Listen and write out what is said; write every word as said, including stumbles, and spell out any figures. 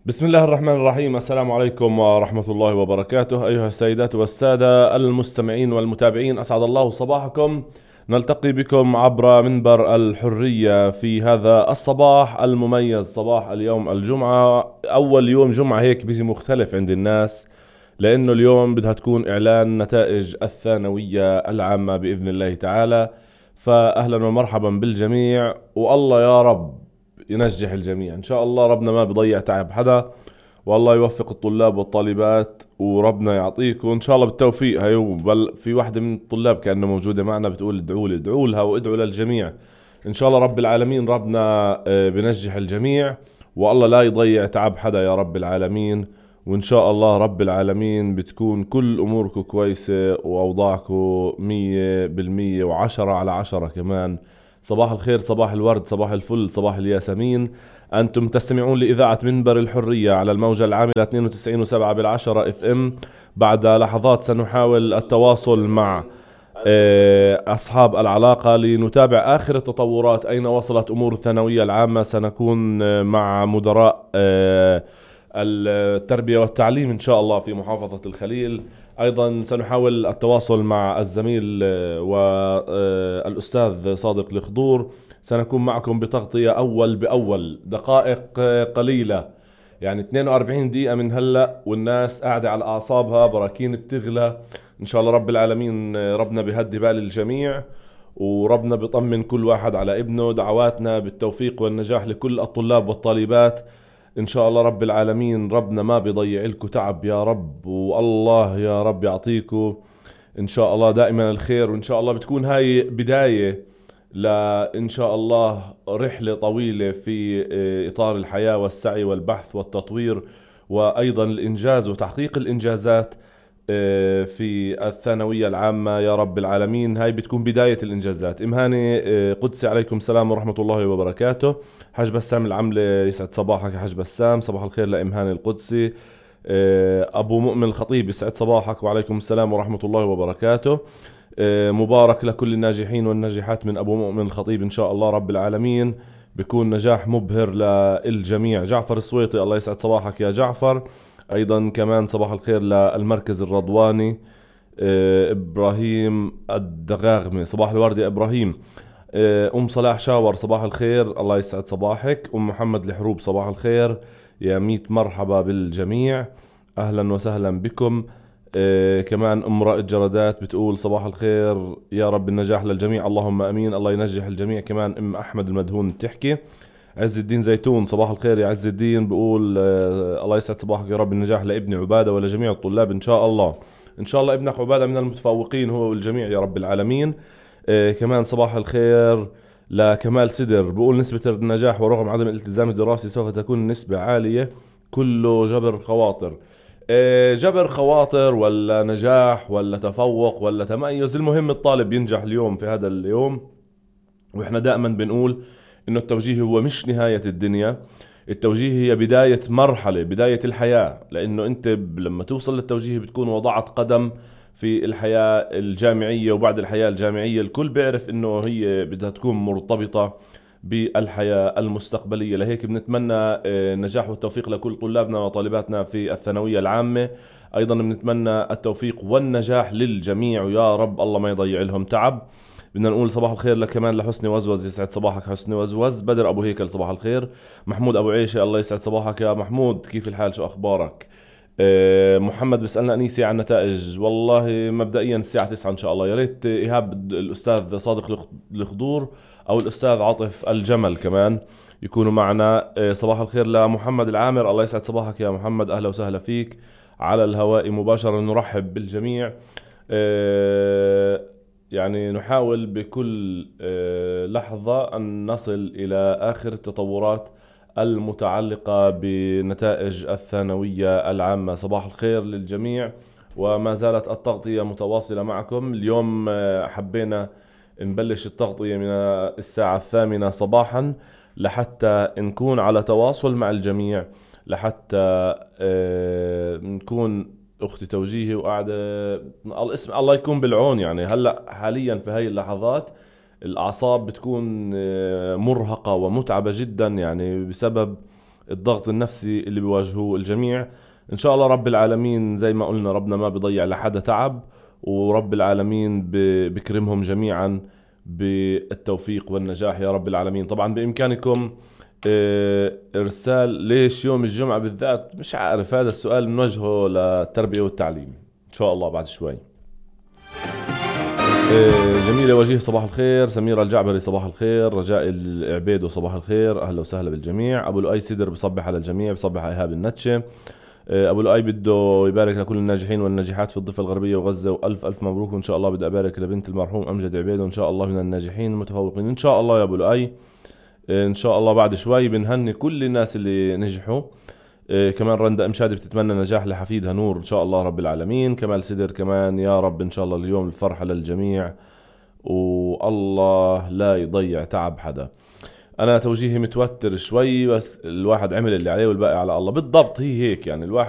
بسم الله الرحمن الرحيم. السلام عليكم ورحمة الله وبركاته أيها السيدات والسادة المستمعين والمتابعين، أسعد الله صباحكم. نلتقي بكم عبر منبر الحرية في هذا الصباح المميز، صباح اليوم الجمعة. أول يوم جمعة هيك بيجي مختلف عند الناس، لأنه اليوم بدها تكون إعلان نتائج الثانوية العامة بإذن الله تعالى. فأهلا ومرحبا بالجميع، والله يا رب ينجح الجميع إن شاء الله. ربنا ما بيضيع تعب حدا، والله يوفق الطلاب والطالبات، وربنا يعطيكم إن شاء الله بالتوفيق. هاي بل في واحدة من الطلاب كأنه موجودة معنا بتقول ادعوا لي، ادعوا لها وادعوا للجميع إن شاء الله رب العالمين. ربنا بنجح الجميع، والله لا يضيع تعب حدا يا رب العالمين. وإن شاء الله رب العالمين بتكون كل أموركم كويسة وأوضاعكم مية بالمية وعشرة على عشرة كمان. صباح الخير، صباح الورد، صباح الفل، صباح الياسمين. أنتم تستمعون لإذاعة منبر الحرية على الموجة العاملة اثنين وتسعين وسبعة بالعشرة اف ام. بعد لحظات سنحاول التواصل مع أصحاب العلاقة لنتابع آخر التطورات، أين وصلت أمور الثانوية العامة. سنكون مع مدراء التربية والتعليم إن شاء الله في محافظة الخليل. أيضا سنحاول التواصل مع الزميل والأستاذ صادق الخضور. سنكون معكم بتغطية أول بأول، دقائق قليلة يعني اثنين وأربعين دقيقة من هلأ، والناس قاعدة على أعصابها، براكين بتغلى إن شاء الله رب العالمين. ربنا بيهدي بال الجميع، وربنا بيطمن كل واحد على ابنه. دعواتنا بالتوفيق والنجاح لكل الطلاب والطالبات إن شاء الله رب العالمين. ربنا ما بيضيع لكم تعب يا رب، والله يا رب يعطيكم إن شاء الله دائما الخير. وإن شاء الله بتكون هاي بداية لإن شاء الله رحلة طويلة في إطار الحياة والسعي والبحث والتطوير، وأيضا الإنجاز وتحقيق الإنجازات في الثانوية العامة يا رب العالمين. هاي بتكون بداية الإنجازات. إمهاني قدسي عليكم السلام ورحمة الله وبركاته. حاج بسام العملة، يسعد صباحك يا حاج بسام. صباح الخير لإمهاني القدسي. أبو مؤمن الخطيب، يسعد صباحك وعليكم السلام ورحمة الله وبركاته. مبارك لكل الناجحين والناجحات من أبو مؤمن الخطيب إن شاء الله رب العالمين، بيكون نجاح مبهر للجميع. جعفر السويطي، الله يسعد صباحك يا جعفر. أيضا كمان صباح الخير للمركز الرضواني. إبراهيم الدغاغمي، صباح الورد يا إبراهيم. أم صلاح شاور، صباح الخير، الله يسعد صباحك. أم محمد الحروب، صباح الخير يا ميت مرحبا بالجميع، أهلا وسهلا بكم. إيه كمان أم رائد جردات بتقول صباح الخير، يا رب النجاح للجميع، اللهم أمين، الله ينجح الجميع. كمان أم أحمد المدهون بتحكي. عز الدين زيتون، صباح الخير يا عز الدين، بقول آه الله يسعد صباحك، يا رب النجاح لابني عبادة ولجميع الطلاب إن شاء الله. إن شاء الله ابنك عبادة من المتفوقين هو والجميع يا رب العالمين. إيه كمان صباح الخير لكمال سدر، بقول نسبة النجاح ورغم عدم الالتزام الدراسي سوف تكون نسبة عالية، كله جبر خواطر. جبر خواطر ولا نجاح ولا تفوق ولا تميز، المهم الطالب ينجح اليوم في هذا اليوم. واحنا دائما بنقول انه التوجيه هو مش نهاية الدنيا، التوجيه هي بداية مرحلة، بداية الحياة. لانه انت لما توصل للتوجيه بتكون وضعت قدم في الحياة الجامعية، وبعد الحياة الجامعية الكل بيعرف انه هي بدها تكون مرتبطة بالحياة المستقبلية. لهيك بنتمنى النجاح والتوفيق لكل طلابنا وطالباتنا في الثانوية العامة. أيضا بنتمنى التوفيق والنجاح للجميع، ويا رب الله ما يضيع لهم تعب. بدنا نقول صباح الخير لك كمان لحسني وزوز، يسعد صباحك حسني وزوز. بدر أبو هيكل، صباح الخير. محمود أبو عيشة، الله يسعد صباحك يا محمود، كيف الحال، شو أخبارك؟ أه محمد بيسألنا أنيسي عن نتائج. والله مبدئيا الساعة تسعة إن شاء الله. يا ريت إيهاب الأستاذ صادق الخضور أو الأستاذ عاطف الجمل كمان يكونوا معنا. صباح الخير لمحمد العامر، الله يسعد صباحك يا محمد، أهلا وسهلا فيك على الهواء مباشرة. نرحب بالجميع، يعني نحاول بكل لحظة أن نصل إلى آخر التطورات المتعلقة بنتائج الثانوية العامة. صباح الخير للجميع، وما زالت التغطية متواصلة معكم. اليوم حبينا نبلش التغطية من الساعة الثامنة صباحا لحتى نكون على تواصل مع الجميع، لحتى نكون أختي توجيهي وقاعدة الاسم الله يكون بالعون. يعني هلأ حاليا في هاي اللحظات الأعصاب بتكون مرهقة ومتعبة جدا، يعني بسبب الضغط النفسي اللي بيواجهوه الجميع. إن شاء الله رب العالمين زي ما قلنا ربنا ما بيضيع لحدا تعب، ورب العالمين بكرمهم جميعا بالتوفيق والنجاح يا رب العالمين. طبعا بإمكانكم إرسال ليش يوم الجمعة بالذات، مش عارف، هذا السؤال بنوجهه للتربية والتعليم إن شاء الله بعد شوي. جميلة وجيه صباح الخير، سميرة الجعبري صباح الخير، رجاء العبيدو صباح الخير، أهلا وسهلا بالجميع. أبو لؤي سدر بصبح على الجميع، بصبح على إيهاب النتشة. أبو لؤي بده يبارك لكل الناجحين والناجحات في الضفة الغربية وغزة، وألف ألف مبروك. وإن شاء الله بدي أبارك لبنت المرحوم أمجد عبيدو، إن شاء الله من الناجحين المتفوقين إن شاء الله يا أبو لؤي. إن شاء الله بعد شوي بنهني كل الناس اللي نجحوا. كمان رندا أمشادي بتتمنى نجاح لحفيدها نور إن شاء الله رب العالمين. كمال سدر كمان يا رب إن شاء الله اليوم الفرحة للجميع، والله لا يضيع تعب حدا. أنا توجيهي متوتر شوي، بس الواحد عمل اللي عليه والباقي على الله. بالضبط هي هيك يعني، الواحد